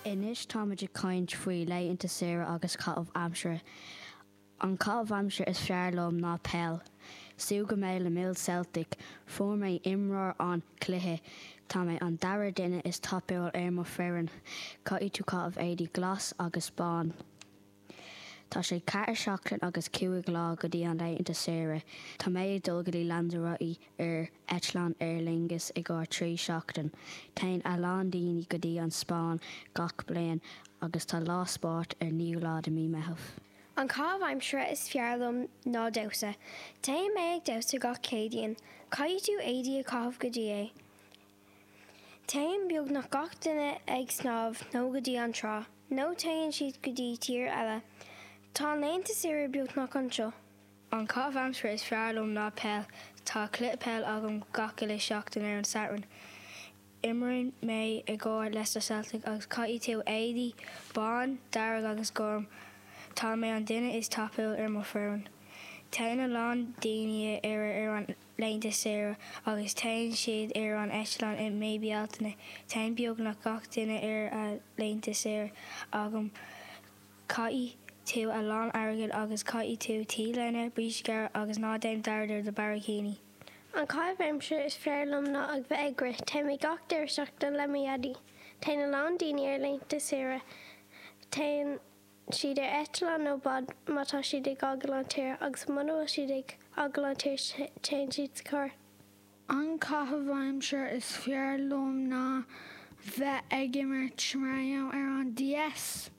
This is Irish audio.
Anois táimid ag caint faoi laethanta saoire agus caitheamh aimsire. An caitheamh aimsire is fearr liom ná peil. Stiúgfaidh mé le Mill Celtic. Fuair mé imreoir an cluiche. Tá mé an dara duine is tapúil ar mo foireann. Caithfidh tú caitheamh éadaí glas agus bán. Tá sé 4 seachtain agus 5 lá go dtí an laethanta saoire. Tá mé ag dul go dtí Lanzarote ar eitleán Aer Lingus i gcomhair 3 seachtain. Téann a lán daoine go dtí an Spáinn gach bliain agus tá lá spóirt ar 9ú lá de mí Meitheamh. An caitheamh aimsire is fearr liom ná damhsa. Téann mé ag damhsa gach Céadaoin. Caithfidh tú éadaí a chaitheamh go dtí é. Téann beagnach gach duine ag snámh nó go dtí an trá, nó téann siad go dtí tír eile. Tá an laethanta saoire beagnach anseo. An caitheamh aimsire is fearr liom ná peil. Tá cluiche peil agam gach uile seachtain ar an Satharn. Imríonn mé i gcomhair Leicester Celtic agus caithfidh tú éadaí bán, dearg agus gorm. Tá mé an duine is tapúil ar mo foireann. Téann a lán daoine ar ar an laethanta saoire agus téann siad ar an eitleán i mí Bealtaine. Téann beagnach gach duine ar a laethanta saoire agam. Caithfidh tú a lán airgead agus caithfidh tú T-léine, bríste gearra agus ná déan dearmad ar do barraicíní. An caitheamh aimsire is fearr liom ná ag bheith ag rith. Téann mé gach deireadh seachtaine le mo dhaidí. Téann a lán daoine ar laethanta saoire. Téann siad ar eitleán nó bád má tá siad ag fhágáil an tír agus muna bhfuil siad ag fhágáil an tír téann siad sa charr. An caitheamh aimsire is fearr liom ná bheith ag imirt Mario ar an DS.